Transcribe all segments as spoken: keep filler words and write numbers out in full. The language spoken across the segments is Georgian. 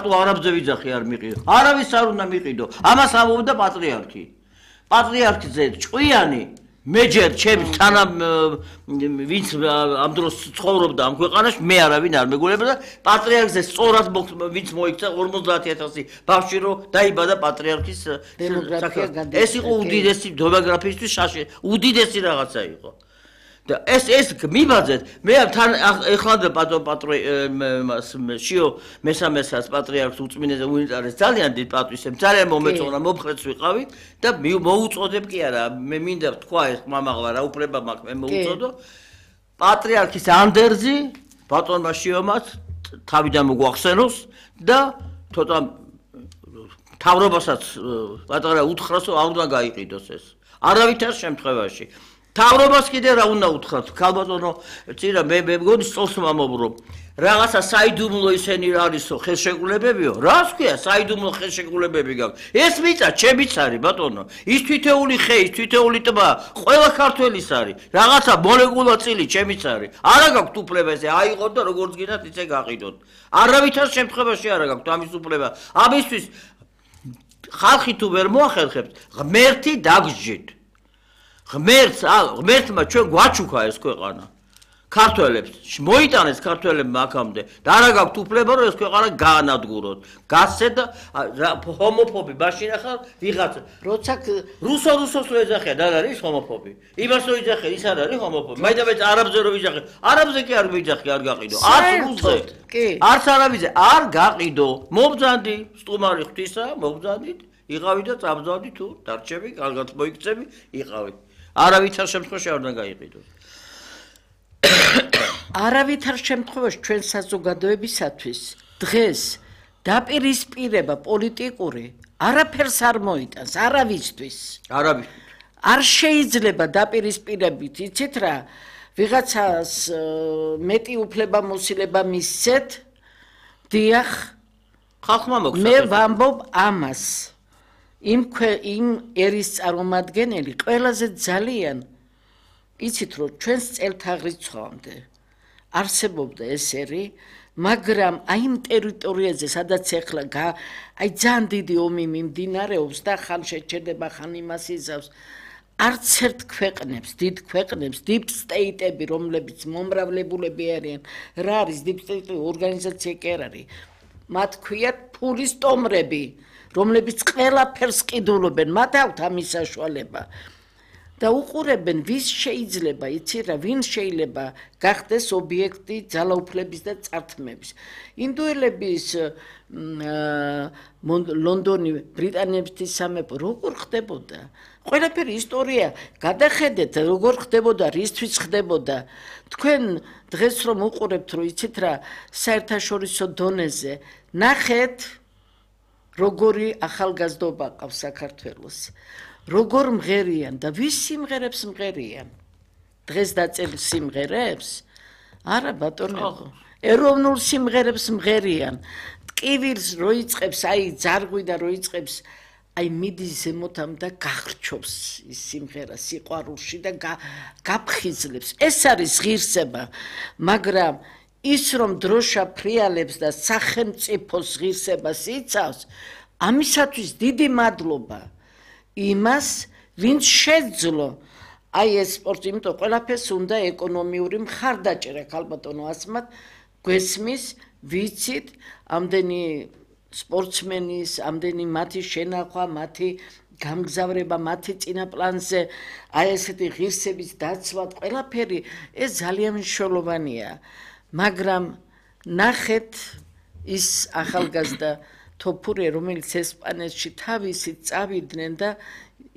არაბზე ვიძახი არ მიყიდო. არავის არ უნდა მიყიდო. ამას ამბობდა პატრიარქი. პატრიარქზე ჭკვიანი მეჯერ ჩემს თანა ვინც ამ დროს ცხოვრობდა ამ ქვეყანაში მე არავინ არ მეგუნება და პატრიარქზე სწორად ვინც მოიქცა ორმოცდაათი ათასი ბავშვი რო დაიბადა პატრიარქის ეს იყო უდიდესი დემოგრაფიისთვის შაში უდიდესი რაღაცა იყო და ეს ეს მიბაძეთ მე თან ეხლა პატო პატრო შიო მესამესაც პატრიარქს უწმინდეს უნიტარეს ძალიან დიდ პატვისებს ძალიან მომეწონა მომხრეც ვიყავი და მოუწოდებ კი არა მე მინდა თქვა ეს მამაღლა რა უფლება მაქვს მე მოუწოდო პატრიარქის ანდერძი ბატონმა შიომაც თავიდან მოგვახსენოს და ცოტა თავრობასაც პატარა უთხრას რომ არ უნდა გაიყიდოს ეს არავითარ შემთხვევაში თავრობას კიდე რა უნდა უთხრათ ქალბატონო წირა მე მე მგონი სწორს მომობრო რაღაცა საიდუმლო ისენი რა არისო ხელშეკრულებებიო რას ქვია საიდუმლო ხელშეკრულებები გაქვს ეს მიწა ჩემიც არის ბატონო ის თითეული ხე ის თითეული ტბა ყველა ქართველის არის რაღაცა მოლეკულა წილი ჩემიც არის არა გაქვთ უფლება ესე აიღოთ და როგორც გინდათ ისე გაყიდოთ არავითარ შემთხვევაში არა გაქვთ ამის უფლება ამისთვის ხალხი თუ ვერ მოახერხებთ ღმერთი დაგსჯით ღმერთს ღმერთმა ჩვენ გვაჩუქა ეს ქვეყანა ქართველებს მოიტანეს ქართველებმა აქამდე და არა გაქვთ უფლება რომ ეს ქვეყანა გაანადგუროთ გასცე და ჰომოფობი მაშინ ახლა ვიღაც როცა რუსო რუსოს რო ეძახიან და არის ჰომოფობი იმას რო იძახიან ის არ არის ჰომოფობი მაინც არაბზე რო ვიძახიან არაბზე კი არ ვიძახი არ გაყიდო არც რუსზე არც არაბიზე არ გაყიდო მობძანდი სტუმარი ღვთისა მობძანდით იყავი და წამბძანდი თუ დარჩები კარგად მოიქცები იყავი არავითარ შემთხვევაში არ უნდა გაიყიდოს არავითარ შემთხვევაში ჩვენ საზოგადოებისათვის დღეს დაპირისპირება პოლიტიკური არაფერს არ მოიტანს არავისთვის არავისთვის არ შეიძლება დაპირისპირებით იცით რა ვიღაცას მეტი უფლება მოსილება მისცეთ დიახ ხალხმა მოგცეთ მე ვამბობ ამას იმ იმ ერის წარმომადგენელი ყველაზე ძალიან იცით რომ ჩვენს წელთაღრიცხვამდე არსებობდა ეს ერი მაგრამ აი იმ ტერიტორიაზე სადაც ეხლა აი ძალიან დიდი ომი მიმდინარეობს და ხან შეჩერდება ხან იმას იზავს არც ერთ ქვეყნებს დიდ ქვეყნებს deep state-ები რომლებიც მომრავლებულები არიან რა არის deep state ორგანიზაცია კი არ არის მათ ქვიათ ფულის ტომრები რომლებიც ყველაფერს ყიდულობენ მათ აქვთ ამის საშუალება და უყურებენ ვის შეიძლება იცი რა ვინ შეიძლება გახდეს ობიექტი ძალაუფლების და წართმების ინდუელების ლონდონი ბრიტანეთის სამეფო როგორ ხდებოდა ყველაფერი ისტორია გადახედეთ როგორ ხდებოდა რისთვის ხდებოდა თქვენ დღეს რომ უყურებთ რომ იცით რა საერთაშორისო დონეზე ნახეთ როგორი ახალგაზრდობა ყავს საქართველოს როგორ მღერიან და ვის სიმღერებს მღერიან დღეს დაწერილ სიმღერებს არა ბატონო ეროვნულ სიმღერებს მღერიან ტკივილს რო იწყებს აი ძარღვი და რო იწყებს აი მიდის ზემოთამ და გახრჩობს ის სიმღერა სიყვარულში და გაფხიზლებს ეს არის ღირსება მაგრამ ის რომ დროშა ფრიალებს და სახელმწიფოს ღირსებას იცავს ამისათვის დიდი მადლობა იმას ვინც შეძლო აი ეს სპორტი იმიტომ ყველაფერს უნდა ეკონომიური მხარდაჭერა ქალბატონო ასმათ გვესმის ვიცით ამდენი სპორტსმენის ამდენი მათი შენახვა მათი გამგზავრება მათი წინა პლანზე აი ესეთი ღირსების დაცვა ყველაფერი ეს ძალიან მნიშვნელოვანია მაგრამ ნახეთ ის ახალგაზრდა თოფურე რომელიც ესპანეთში თავისით წავიდნენ და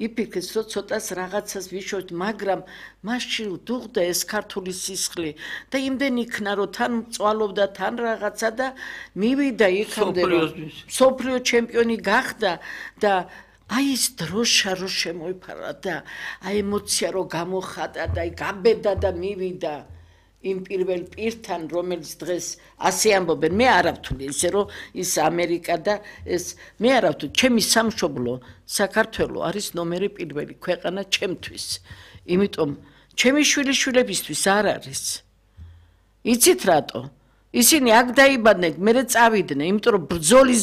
იფიქრეს რომ ცოტას რაღაცას ვიშოთ მაგრამ მასში დუღდა ეს ქართული სისხლი და იმდენ იქნა რომ თან მწვალობდა თან რაღაცა და მივიდა იქამდე რომ მსოფლიო ჩემპიონი გახდა და აი ეს დროშა რო შემოიფარა და აი ემოცია რო გამოხატა და აი გაბედა და მივიდა იმ პირველ პირთან რომელიც დღეს ასე ამბობენ მე არ ავთვლი ისე რომ ის ამერიკა და ეს მე არ ავთვლი ჩემი სამშობლო საქართველო არის ნომერი პირველი ქვეყანა ჩემთვის იმიტომ ჩემი შვილიშვილებისთვის არ არის იცით რატო ისინი აქ დაიბადნენ, მერე წავიდნენ, იმიტომ რომ ბრძოლის